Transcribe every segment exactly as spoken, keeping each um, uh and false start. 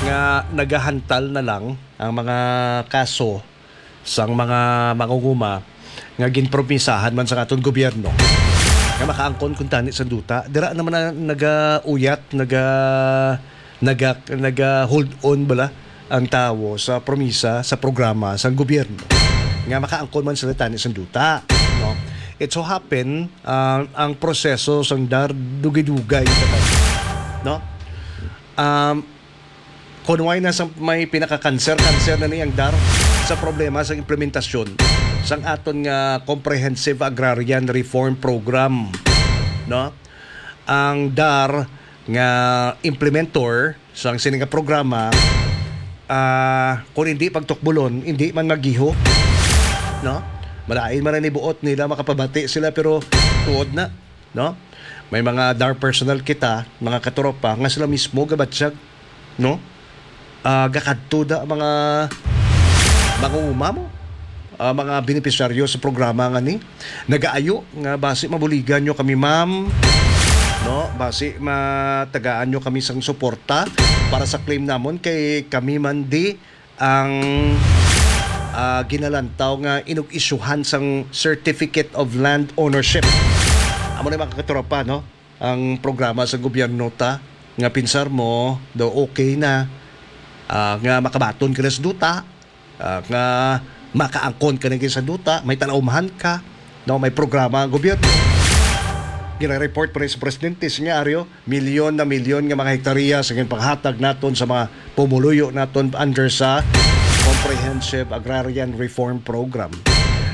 nga nagahantal na lang ang mga kaso sang mga mangunguma nga ginpromisahan man sa aton gobyerno nga makaangkon kuntani sa duta. Dira naman na nagauyat, naga, naga, naga-hold on bala ang tawo sa promisa, sa programa sang gobyerno nga makaangkon man sila tani sang duta, no? It so happen, ah, ang proseso sang dar dugay-dugay, no? Um, Kon wala na sa may pinaka-cancer, cancer na ni ang dar sa problema sa implementasyon sang aton nga Comprehensive Agrarian Reform Program, no? Ang dar nga implementor sang sini nga programa, ah, kung hindi pagtukbulon, hindi man magiho, no? Malain man ang nibuot nila, makapabati sila, pero tuod na, no? May mga dar personnel kita, mga katropa, nga sila mismo gabatyag, no? Ah, gakadto da ang mga mangunguma mo, ah, mga benepisyaryo sa programa nga ni nagaayo nga basi mabuligan nyo kami, ma'am, no? Basi matagaan nyo kami sang suporta para sa claim namon, kay kami man di ang, ah, ginalantaw nga inug-isyuhan sang Certificate of Land Ownership. Amo na, mga katropa, no? Ang programa sa gobyerno ta nga pinsar mo daw okay na, ah, nga makabaton ka na sa duta, ah, nga makaangkon ka na sa duta, may talaumhan ka, no? May programa ang gobyerno. Gina-report pa rin sa presidente, Senyaryo, milyon na milyon nga mga hektarya sa ginpanghatag naton sa mga pumuluyo naton under sa Comprehensive Agrarian Reform Program.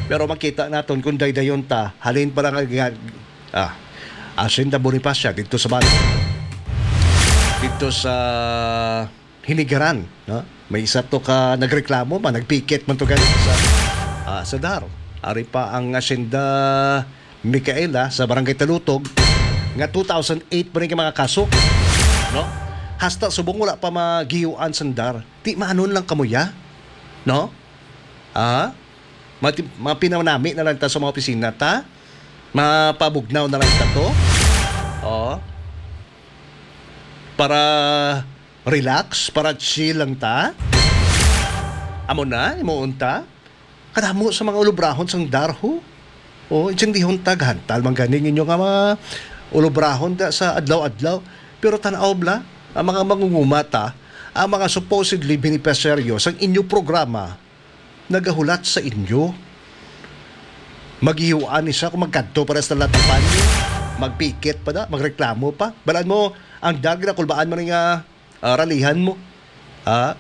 Pero makita naton kung daydayon ta, halin pa lang ang, ah, Hacienda Bonifacia dito sa Bato. Dito sa Hinigaran, no? May isa to ka nagreklamo man, nagpikit man to gani sa, ah, sa dar. Ari pa ang Hacienda Micaela sa Barangay Talutog nga two thousand eight pa rin mga kaso, no? Hasta subong wala pa magiyuan sang dar. Ti maanon lang kamo ya, no? Ah? Mati-, mapinawnami na lang ta sa mga opisina ta. Mapabugnaw na lang ta to. Oh. Para relax, para chill lang ta. Amo na, imuon ta. Kadamo sa mga ulubrahon sang darho. Oh, intindihon ta, gahantal man gani ninyo nga mga ulubrahon da sa adlaw-adlaw. Pero tan-aw bala, ang mga mangunguma ta, ang mga supposedly beneficiaryo sang inyo programa, nagahulat sa inyo. Maghihiwaan ni siya kung magkadto para sa latapan niyo. Magpikit pa da, magreklamo pa. Balaan mo, ang dar ginakulbaan man nga, ah, ralihan mo. Ah,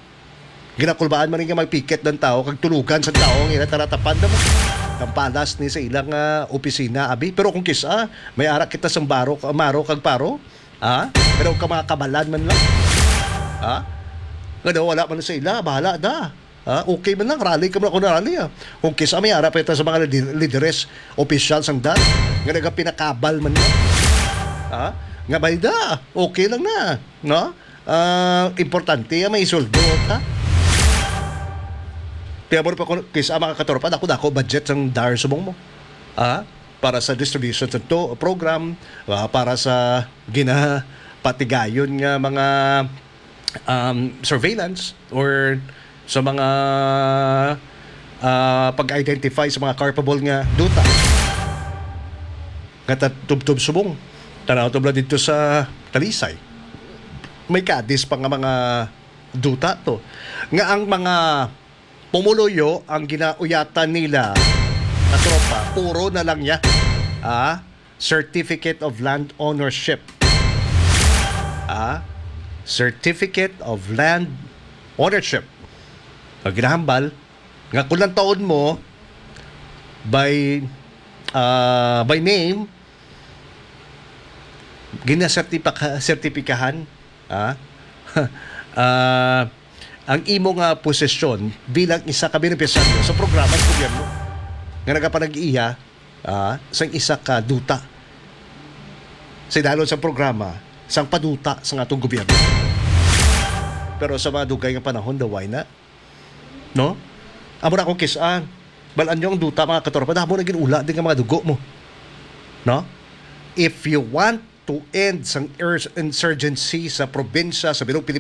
ginakulbaan man nga magpikit ng tao, kag tulugan sa tao, ang ila talatapan na mo. Tampalas ni sa ilang, ah, opisina, abi. Pero kung kisa, may ara kita sang baro, maro kag paro, ah, pero ka mga kabalan man lang. Ah, nga daw wala man sa ila, bahala da. Ah, okay man lang, rally ka man ako na rally, ah. Kung kisa may ara pa ito sa mga lidi-, lideres, opisyal sang dar, nga nagapinakabal man lang. Ah, nga bay da, okay lang na, no? Ah, importante, ah, may suldo, ha? Kaya mo pa kung kisa mga katropa, dako-dako budget sang dar subong mo. Ah, para sa distribution sa to, program, ah, para sa ginapatigayon nga mga, um, surveillance or sa mga, ah, pag-identify sa mga culpable nga duta. Nga ta-, tubtob subong. Tanaw tubla dito sa Talisay. May kadis pa nga mga duta to. Nga ang mga pumuluyo ang ginauyatan nila, katropa, puro na lang niya. Ah, Certificate of Land Ownership. Ah, Certificate of Land Ownership. Ang ginahambal, nga kung lang taon mo, by, ah, by name, ginasertipaka-, sertipikahan, ah, ah, ang imo nga posisyon bilang isa ka benepisyaryo sa programa sa gobyerno nga nagapanag-iya, ah, sang isa ka duta. Sa idalon sa programa, sang paduta sa atong gobyerno. Pero sa mga dugay nga panahon, daw why na? No? Amo na akong kis-an. Balaan nyo ang duta, mga katropa. Damo na ginula din nga mga dugo mo. No? If you want to end sang ers-, insurgency sa probinsya, sa Bilog Pilipinas,